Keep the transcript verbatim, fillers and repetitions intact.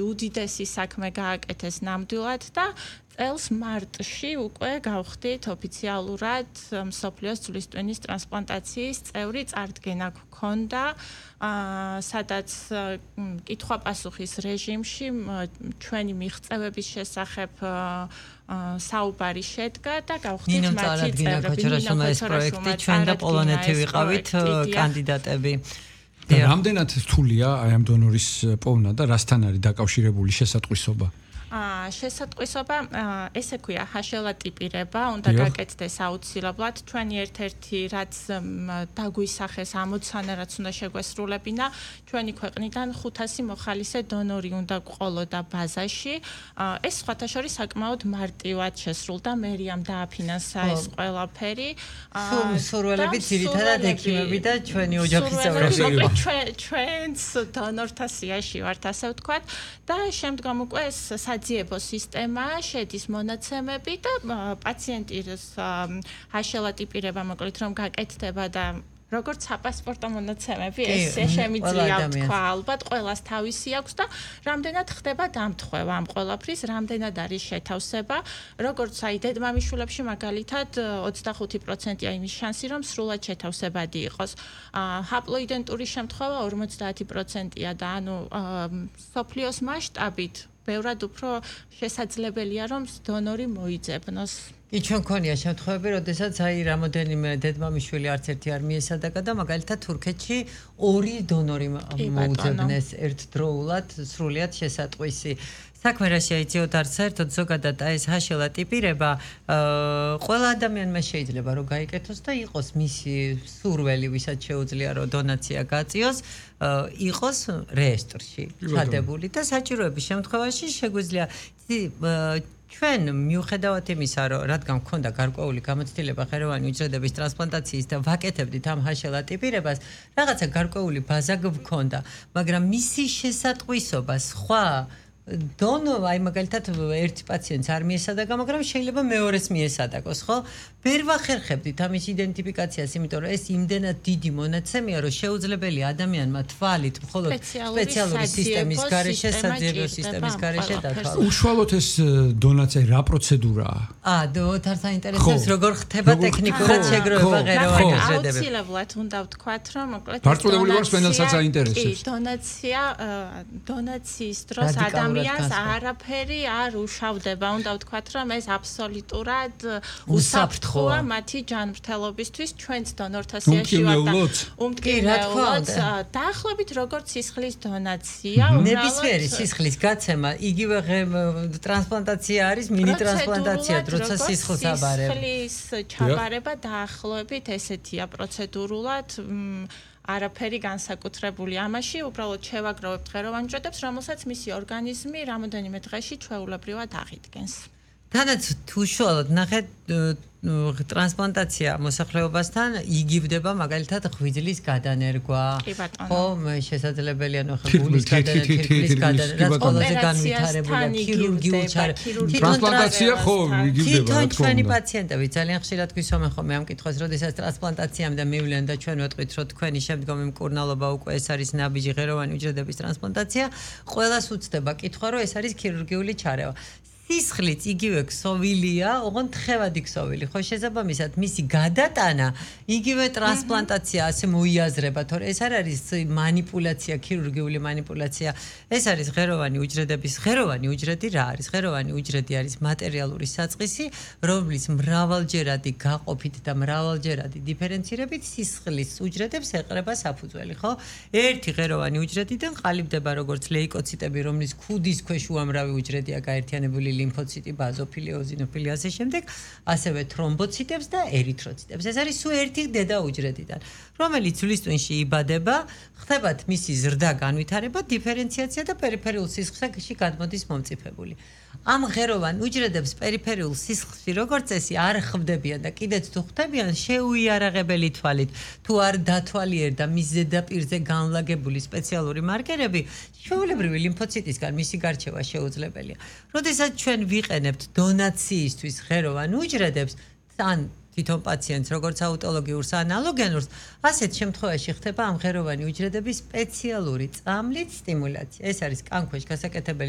უდიდესი საქმე გააკეთეს ნამდვილად და წელს მარტში უკვე გავხდით ოფიციალურად მსოფლიოს ძვლის ტვინის ტრანსპლანტაციის წევრი წარდგენა გქონდა, სადაც კითხვა-პასუხის რეჟიმში ჩვენი მიღწევების შესახებ საუბარი შედგა და გავხდით მათი წევრები. ნინო ეს პროექტი ჩვენ და პოლონეთი ვიყავით კანდიდატები. და რამდენად რთულია აი ამ დონორის პოვნა და რასთან არის დაკავშირებული შესატყვისობა? აა შესატყვისობა ესე ქვია ჰაშელა ტიპირება, უნდა გაკეთდეს აუცილებლად. ჩვენი ერთ-ერთი რაც დაგვისახეს ამოცანა, რაც უნდა შეგვესრულებინა, ჩვენი ქვეყნიდან ხუთასი მოხალისე დონორი უნდა გყოლოდა ბაზაში. ეს სხვათა შორის საკმაოდ მარტივად შესრულდა, მერიამ დააფინანსა ეს ყველაფერი. სურველები ძირითადად ექიმები და ჩვენი ოჯახის წევრები. ჩვენს დონორთა სიაში ვართ, ასე ვთქვათ, და შემდგომ უკვე ეს საძიებო სისტემა შედის მონაცემები და პაციენტის ჰაშელა ტიპირება მოკლედ რომ გაკეთდება და როგორც საპასპორტო მონაცემები ეს შემიძლია თქვა ალბათ ყველას თავისი აქვს და რამდენად ხდება დამთხევა ამ ყველაფრის, რამდენად არის შეთავსება, როგორც აი დედმამიშვილებში მაგალითად ოცდახუთი პროცენტია იმის შანსი რომ სრულად შეთავსებადი იყოს. ჰაპლოიდენტური შემთხვევა ორმოცდაათი პროცენტია და ანუ სოფლიოს მასშტაბით ბევრად უფრო შესაძლებელია რომ დონორი მოიძებნოს. კი ჩვენ ქონია შემთხვევები, როდესაც აი რამოდენიმე დედმამიშვილი არც ერთი არ მიესადაგა და მაგალითად თურქეთში ორი დონორი მოუძებნეს ერთდროულად სრულიად შესატყვისი. საქმე რა შეიძლება არც საერთოდ ზოგადად ეს ჰაშელა ტიპირება ყველა ადამიანმა შეიძლება რომ გაიკეთოს და იყოს მისი სურველი, ვისაც შეუძლია რომ დონაცია გაწიოს, იყოს რეესტრში ჩადებული და საჭიროების შემთხვევაში შეგვიძლია ჩვენ მიუხედავად იმისა, რომ რადგან მქონდა გარკვეული გამოცდილება ხელოვანი უჯრედების ტრანსპლანტაციის და ვაკეთებდით ამ ჰაშელა ტიპირებას, რაღაცა გარკვეული ბაზა გვქონდა, მაგრამ მისი შესატყვისობა სხვა დონო აი მაგალითად ერთი პაციენტს არ მიესადაგა, მაგრამ შეიძლება მეორეს მიესადაგოს, ხო? ვერ ვახერხებდით ამის იდენტიფიკაციას, იმიტომ რომ ეს იმდენად დიდი მონაცემია, რომ შეუძლებელია ადამიანმა თვალით მხოლოდ სპეციალური სისტემის გარეშე, საძიებო სისტემის გარეშე დათვალოს. უშუალოდ ეს დონაცია რა პროცედურაა? აა, დოთარ საინტერესებს როგორ ხდება ტექნიკურად შეგროვება ღეროვანი უჯრედები. აუცილებლად უნდა ვთქვათ, რომ მოკლედ დარწმუნებული ვარ, სპენელსაც აინტერესებს. კი, დონაცია დონაციის დროს ადამიანს არაფერი არ უშავდება. უნდა ვთქვათ, რომ ეს აბსოლუტურად უსაფრთხოა მათი ჯანმრთელობისთვის, ჩვენც დონორთა სიაში ვარ და უმტკივნეულოდ დაახლოებით როგორც სისხლის დონაცია, ნებისმიერი სისხლის გაცემა, იგივე ტრანსპლანტაცია არის, მინი ტრანსპლანტაცია, როცა სისხლს აბარებ. სისხლის ჩაბარება დაახლოებით ესეთია პროცედურულად. არაფერი განსაკუთრებული ამაში, უბრალოდ შევაგროვებთ ღეროვან უჯრედებს, რომელსაც მისი ორგანიზმი რამოდენიმე დღეში ჩვეულებრივად აღიდგენს. თანაც თუ უშუალოდ ნახეთ ტრანსპლანტაცია მოსახლეობასთან იგივდება მაგალითად ღვიძლის გადანერგვა. ხო, შესაძლებელია ნახე გულის გადანერგვა, თირკმლის გადანერგვა, რაც ყველაზე განვითარებულია ქირურგიულ ჩარევებში. ტრანსპლანტაცია ხო იგივდება, რა თქმა უნდა. ჩვენი პაციენტები ძალიან ხშირად გვისვამენ ხოლმე ამ კითხვას, როდესაც ტრანსპლანტაციამდე მივლენ და ჩვენ ვეტყვით, რომ თქვენი შემდგომი მკურნალობა უკვე ეს არის ნაბიჯი ღეროვანი უჯრედების ტრანსპლანტაცია, ყველას უცდება კითხვა, რომ ეს არის ქირურგიული ჩარევა. სისხლიც იგივე ქსოვილია, ოღონდ თხევადი ქსოვილი. ხო, შესაბამისად, მისი გადატანა იგივე ტრანსპლანტაცია ასე მოიაზრება, თორე ეს არ არის მანიპულაცია, ქირურგიული მანიპულაცია. ეს არის ღეროვანი უჯრედების, ღეროვანი უჯრედი რა არის? ღეროვანი უჯრედი არის მატერიალური საწყისი, რომლის მრავალჯერადი გაყოფით და მრავალჯერადი დიფერენცირებით სისხლის უჯრედებს ეყრება საფუძველი, ხო? ერთი ღეროვანი უჯრედიდან ყალიბდება როგორც ლეიკოციტები, რომლის ქუდის ქვეშ უამრავი უჯრედია გაერთიანებული ლიმფოციტი, ბაზოფილი, ოზინოფილი, ასე შემდეგ, ასევე თრომბოციტებს და ერითროციტებს. ეს არის სულ ერთი დედა უჯრედიდან, რომელიც ძვლის ტვინში იბადება, ხდებათ მისი ზრდა, განვითარება, დიფერენციაცია და პერიფერიულ სისხლში გადმოდის მომწიფებული. ამ ღეროვან უჯრედებს პერიფერიულ სისხლში როგორც წესი არ ხვდებიან და კიდეც თუ ხვდებიან, შეუიარაღებელი თვალით, თუ არ დათვალიერდა მის ზედაპირზე განლაგებული სპეციალური მარკერები, ჩვეულებრივი ლიმფოციტისგან მისი გარჩევა შეუძლებელია. როდესაც ჩვენ ვიყენებთ დონაციისთვის ღეროვან უჯრედებს, ან თვითონ პაციენტს როგორც აუტოლოგიურს ან ალოგენურს, ასეთ შემთხვევაში ხდება ამ ღეროვანი უჯრედების სპეციალური წამლით სტიმულაცია. ეს არის კანქვეშ გასაკეთებელი